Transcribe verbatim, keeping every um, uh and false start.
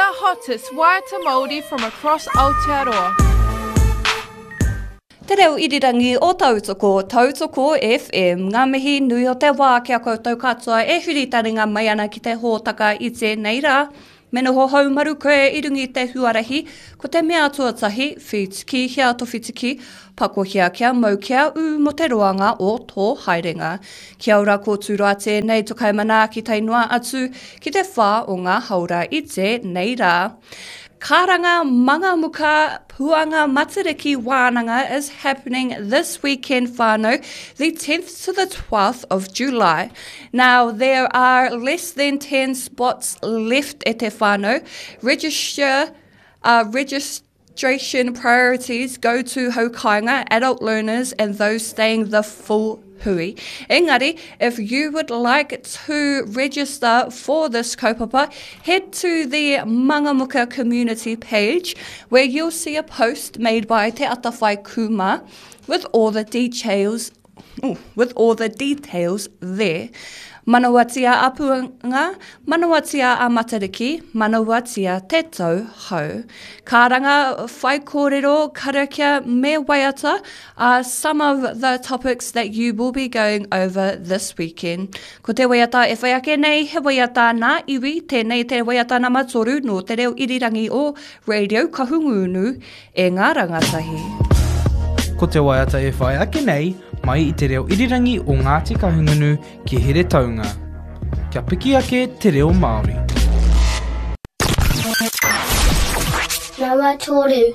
The hottest waiata Māori from across Aotearoa. Te reo irirangi o Tautoko, Tautoko F M. Ngā mihi nui o te wā ki a koutou katoa e huri taringa mai ana ki te hōtaka i tēnei rā. Me noho haumaru koe i runga i te huarahi, ko te mea tuatahi, whitiki hia to whitiki, pakohia kia mau kia ū mo te roanga o tō haerenga. Kia ora ko tūroa tēnei to kaimanaaki tae noa atu ki te whā o ngā haora i tēnei rā. Karanga Mangamuka Puanga Matariki Wānanga is happening this weekend, whānau, the tenth to the twelfth of July. Now, there are less than ten spots left at te whānau. Register, uh, registration priorities go to haukāinga, adult learners and those staying the full hui. Engari, if you would like to register for this kaupapa, head to the Mangamuka community page where you'll see a post made by Te Atawhai Kuma with all the details, ooh, with all the details there. Manawatia a Puanga, manawatia a Matariki, manawatia te tau hou. Karanga, whaikōrero, karakia me waiata are some of the topics that you will be going over this weekend. Ko te waiata e whai ake nei, he waiata nā iwi, tēnei te waiata nama toru no te reo irirangi o Radio Kahungunu e ngā rangatahi. Ko te waiata e whai ake nei, mai i te reo irirangi o Ngāti Kahungunu ki Heretaunga. Kia piki ake te reo Māori. Nama toru.